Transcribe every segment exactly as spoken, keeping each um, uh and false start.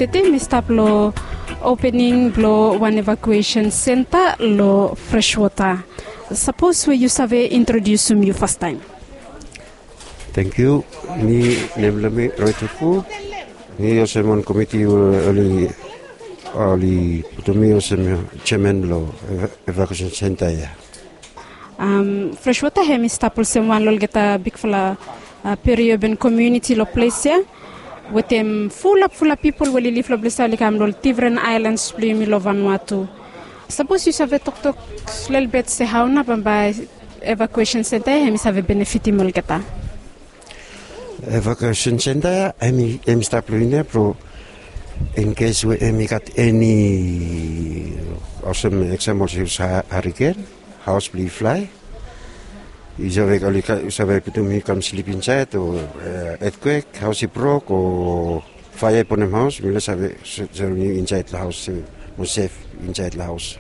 Tete mi stap long opening blong wan evakuesen senta long Freshwater. Sapos we yu save introdiusim yu fastaem. Tangkiu. Mi, nem blong mi Roy Tuku. Mi olsem wan komiti we oli, oli putum mi olsem jeaman blong evakuesen senta ya. Freshwater hem i stap olsem wan long olgeta bigfala periurban komuniti long ples ya, wetem fulap fulap pipol we oli liv long ples ya oli kam long ol difren aelans blong yumi long Vanuatu. Sapos yu save toktok lelebet se hao nao bambae evakuesen senta ya hem i save benefitim olgeta. Evakuesen senta ya hem i stap long yumi ya blong inkes we hem i gat eni olsem eksem olsem hariken, haos blong i flae. Yu save oli save putum yu kam slip insaed o etkwek, haos i brok o faea i bonem haos, mifala save serim yu insaed long haos, mo sef insaed long haos.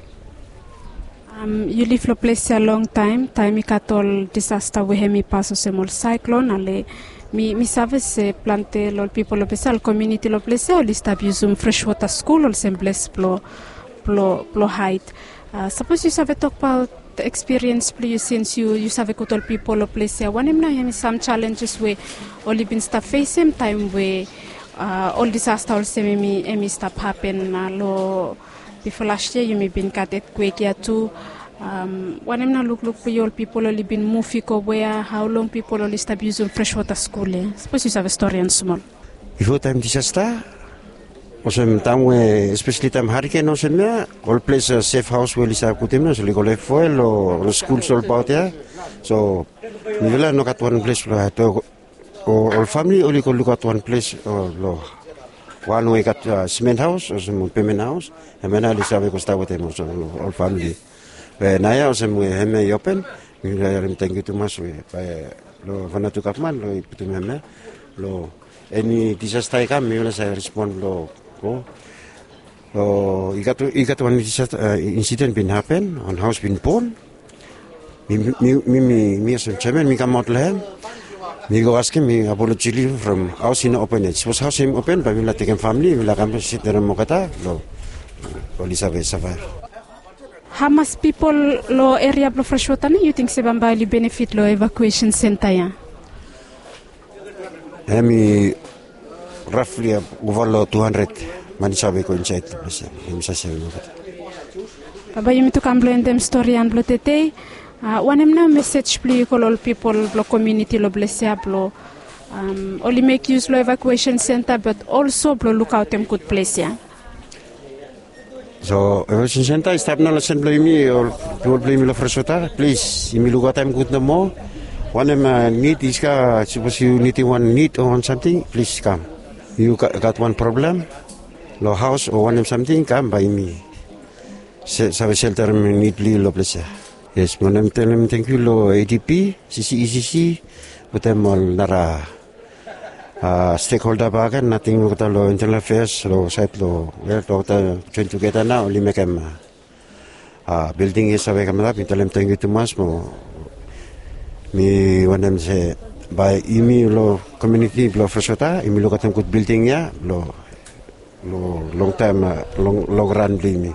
Yu liv long ples ya longtaem, taem i gat ol disasta we hem i pas olsem ol saeklon ale mi save se plante long ol pipol long ples ya, ol komuniti long ples ya oli stap yusum Freshwater skul olsem ples blong haed. Sapos yu save tokbaot ekspiriens blong yu sins yu save gud ol pipol long ples ya, wanem nao hem i sam jalenjes we oli bin stap fesem taem we ol disasta olsem hem i stap hapen long bifo las yia yumi bin gat etkwek ya tu. Wanem nao lukluk blong yu, ol pipol oli bin muv i go wea, hao long pipol oli stap yusum Freshwater skul ya? Sapos yu save stori han smol. Bifo taem disasta, olsem taem we espeseli taem hariken olsem ya, ol ples sef haos we oli save putum ya oli go lef foel o ol skul olbaot ya. So mifala no gat wan ples blong haed. Ol famili oli go lukaot wan ples long wan we i gat simen haos olsem ol pemen haos. Hemia nao oli save go stap wetem ol famili. Be naoia olsem we hemia i open, mifala harim tangkiu tumas we bae long Vanuatu gavman long i putum hemia long eni disasta i kam mifala save respon long go. I gat wan disasta insiden bin hapen, wan haos bin bon. Mi olsem jeaman mi kamaot long hem, mi go askem, mi apoloji long yu from haos i no open yet. Sapos haos hem i open bae mifala tekem famili mifala kam setem olgeta long oli save savaev. Hamas pipol long eria blong Freshwater nao yu ting se bambae oli benefit long evakuesen senta ya? Hem i rafli ova long tu handred man i save go insaed long ples ya. Hem i save sevem olgeta. Bambae yumi tu kam blong endem stori ya blong tedei. Wanem nao mesej blong yu go long ol pipol blong komuniti long ples ya blong oli mek yus long evakuesen senta bat olso blong lukaotem gud ples ya? So evakuesen senta i stap nao long sen blong yumi, ol pipol blong yumi long Freshwater, plis yumi lukaotem gud nomo. Wanem nid i stap, sapos yu nidim wan nid o wan samting, plis kam. Yu gat wan problem long haos o wanem samting, kam bae yumi save selterem nid blong yu long ples ya. Yes, mi wantem talem tangkiu long ADB, CCECC, wetem ol nara stekholda bakegen, nating olgeta long Internal Affairs long saed long, wel, olgeta joen tugeta nao oli mekem bilding ya save kamap. Mi talem tangkiu tumas mo mi wantem se bae yumi long komuniti blong Freshwater yumi lukaotem gud bilding ya blong longtaem, long ran blong yumi.